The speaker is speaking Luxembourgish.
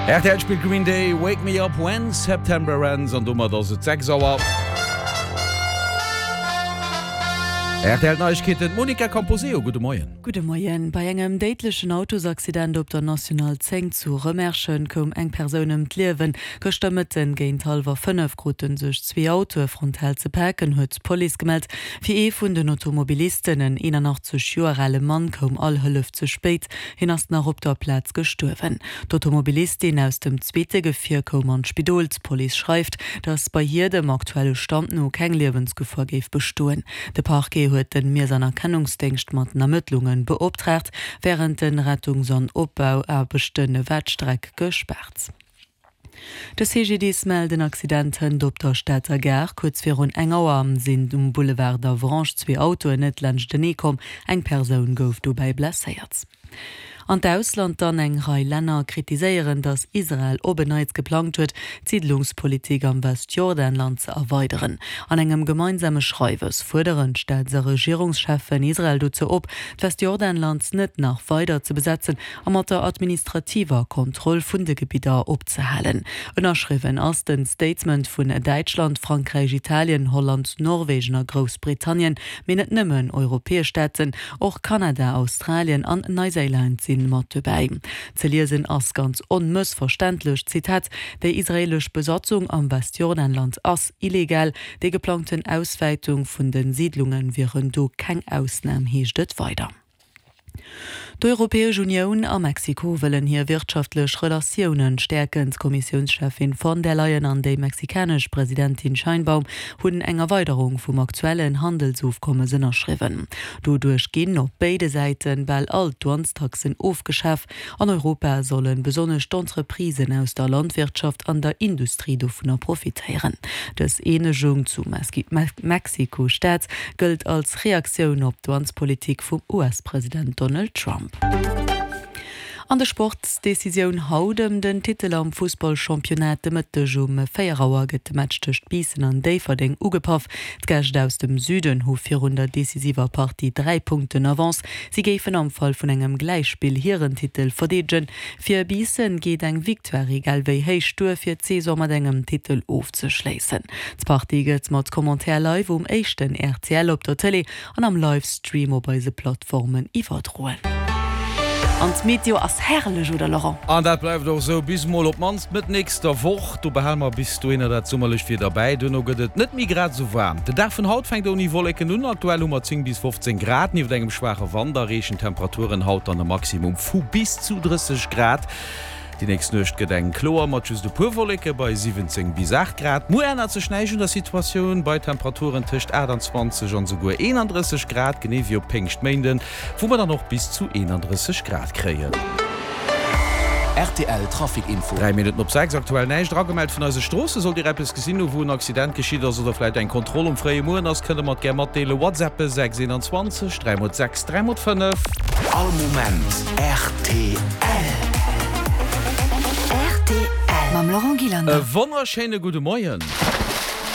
Rtl spillt Green Day, Wake Me Up When September Ends an domat ass et 6 Auer. Rtl Neiegkeeten, d'Monica Camposeo, gudde Moien. Gudde Moien. Bei engem déidlechen Autosaccident op der National 10 zu Rëmerschen koum eng Persoun ëm d'Liewen. Gëschter Mëtten géint hallwer 5 krute sech zwee Autoe frontal ze paken, huet d'Police gemellt. Fir ee vun den Automobilisten, en 81 Joer ale Mann, koum all Hëllef ze spéit. Hien ass nach op der Plaz gestuerwen. D'Automobilistin aus dem zweete Gefier koum an d'Spidol. D'Police schreift, datt bei hir dem aktuelle Stand no keng Liewensgefor géif bestoen. De Parquet huet de Miess an Erkennungsdéngscht mat den Ermëttlunge beoptraagt. Wärend de Rettungs an Opbauaarbechte war d'Streck gespaart. De CGDIS mellt en Accident hënt op der Stater Gare. Kuerz virun eng Auer sinn um Boulevard d'Avranches zwee Autoen net laanschtenee komm. Eng Persoun gouf dobäi blesséiert. An d'Ausland dann, Eng Rei Länner kritiséieren, datt Israel op en Neits geplangt huet, d'Siidlungspolitik am Westjordanland ze erweideren. An engem gemeinsame Schreiwes fuerderen d'Staats a Regierungscheffen Israel dozou op, d'Westjordanland net nach weider ze besetzen a mat der administrativer Kontroll vun de Gebidder opzehalen. Ënnerschriwwen ass den Statement vun Däitschland, Frankräich, Italien, Holland, Norwegen a Groussbritannien, mee net nëmmen europäesch Staaten, och Kanada, Australien an Neiséiland si mat dobäi. Ze liesen ass ganz onmëssverständlech, Zitat, Déi israeelesch Besatzung am Westjordanland ass illegal. Déi geplangten Auswäitung vun de Siidlunge wieren do keng Ausnam, heescht et weider. D'Europäesch Unioun a Mexiko wëllen hir wirtschaftlech Relatiounen stäerken. D'Kommissiounscheffin von der Leyen an déi mexikanesch Presidentin Sheinbaum hunn eng Erweiderung vum aktuellen Handelsofkommes ënnerschriwwen. Doduerch ginn op béide Säite bal all d'Douanestaxen ofgeschaf. An Europa solle besonnesch d'Entreprisen aus der Landwirtschaft an der Industrie dovunner profitéieren. Dës Eenegung zu Mexiko-Stad gëllt als Reaktioun op d'Douanespolitik vum US-President Donald Trump. An de Sport, Decisioun haut ëm den Titel am Fussballchampionnat. De Mëtteg um 4 Auer gëtt de Match tëscht Biissen an Déifferdeng ugepaff. D'Gäscht aus dem Süden hu virun der decisiver Partie 3 Punkten Avance. Si géifen am Fall vun engem Gläichspill hiren Titel verdeedegen. Fir Biissen geet eng Victoire egal wéi héich duer, fir d'Saison mat engem Titel ofzeschléissen. D'Partie gëtt mat Commentaire live um éischten rtl op der Tëlee an am Livestream op eise Plattformen iwwerdroen. An d'Meteo ass herrlech, oder Laurent? An dat bleift och esou bis mol op d'mannst Mëtt nächster Woch. Do behale mer bis dohinner dat summerlecht Wieder bäi. Duerno gëtt et net méi grad esou waarm. Den Dag vun haut fänkt ouni Wolleken un. Aktuell hu mer 10 bis 15 Grad. Nieft engem schwaache Wand erreechen d'Temperaturen haut dann e Maximum vu bis zu 30 Grad. Déi nächst Nuecht gëtt eng kloer mat just e puer Wolleke bei 17 bis 8 Grad. Muer ännert sech näischt un der Situatioun bei Temperaturen tëscht 28 an esouguer 31 Grad, genee wéi op Péngschtméinden, wou mer dann och bis zu 31 Grad kréien. Rtl Trafic Info. 3 Minutten op 6, aktuell näischt eragemellt vun eise Stroossen. Sollt Dir eppes gesinn hu wou en Accident geschitt ass oder vläit eng Kontroll um fréie Mueren ass, kënnt Der mer et gär matdeelen. WhatsAppe 6 21 3 mol 6 3 mol 5. All Moment rtl. Rtl mam Laurent Gillander. E wonnerschéine gudde Moien.